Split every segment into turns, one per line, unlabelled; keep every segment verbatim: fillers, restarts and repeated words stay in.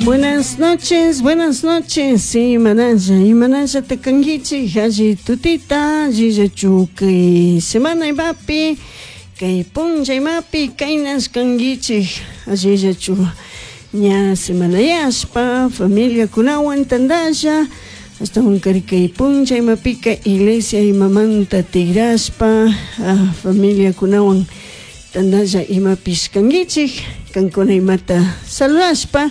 Buenas noches, buenas noches. Imanalla, imanalla takankichik, alli tutita, allillachu kay semana imapi, kay punlla imapi, kaynas kankichik, allillachu ña semanayashpa, familiakunawan tantalla, ashtawan kari kay punlla imapika iglesia imamanta tigrashpa, ah, familiakunawan tantalla imapish kankichik, kankuna imata saludashpa,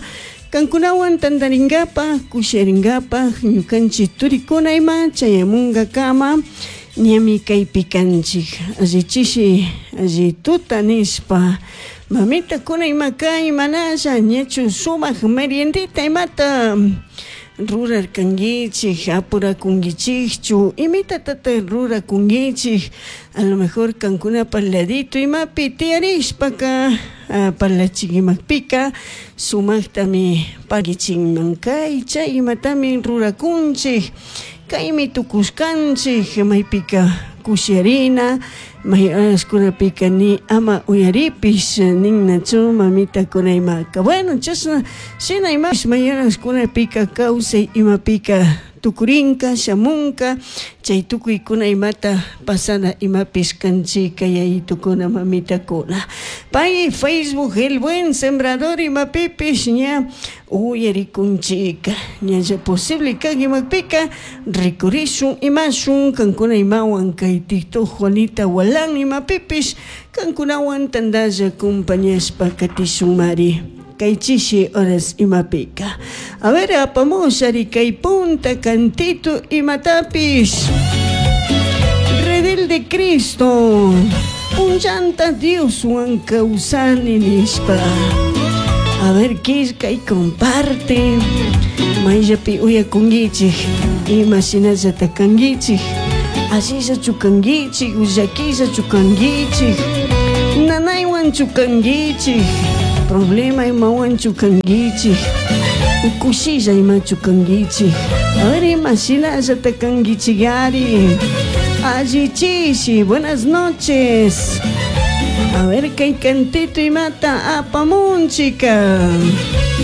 kankunawan tantaringapaj, kusharingapaj, ñukanchik turikuna ima chayamunkakama ñami kaypi kanchik, alli chishi, alli tuta nishpa, mamitakuna ima kay manalla ñachu sumak meriendita imata rurarkankichik, apurakunkichikchu, imitatata rurakunkichik, a lo mejor kankunapa ladito imapi tiyarishpaka parlachik imapika sumaktami pagichinman kay chay imatami rurakunchik, kaymi tukushkanchik, maypika kusharina, may horaskunapika ni ama uyaripish ninnachu mamitakuna imaka. Bueno, chashna shina imapish may horaskunapika kawsay imapika tukurinka, shamunka, chay tukuykuna imata pasana imapish kanchika yayitukuna mamitakuna. Pay Facebook El Buen Sembrador imapipish ña uyarikunchika, ñalla posible kan imapika rikurishun imashun kankuna imawan kay TikTok Juanita Walan imapipish kankunawan tantalla acompañashpa katishunmari. Kay chishi horas imapika. A ver, apamushari kay punta cantito imatapish. Redil de Cristo. Punllanta Dioswan kawsani nishpa. A ver, killka y comparte. Mayllapi uyakunkichik, ima shinallata kankichik, allillachu kankichik, llakillachu kankichik, nanaywanchu kankichik, problema imawanchu kankichik, kushilla imachu kankichik. A ver, ima shinallata kankichikari. Alli chishi, buenas noches. A ver, kay cantito imata apamunchika.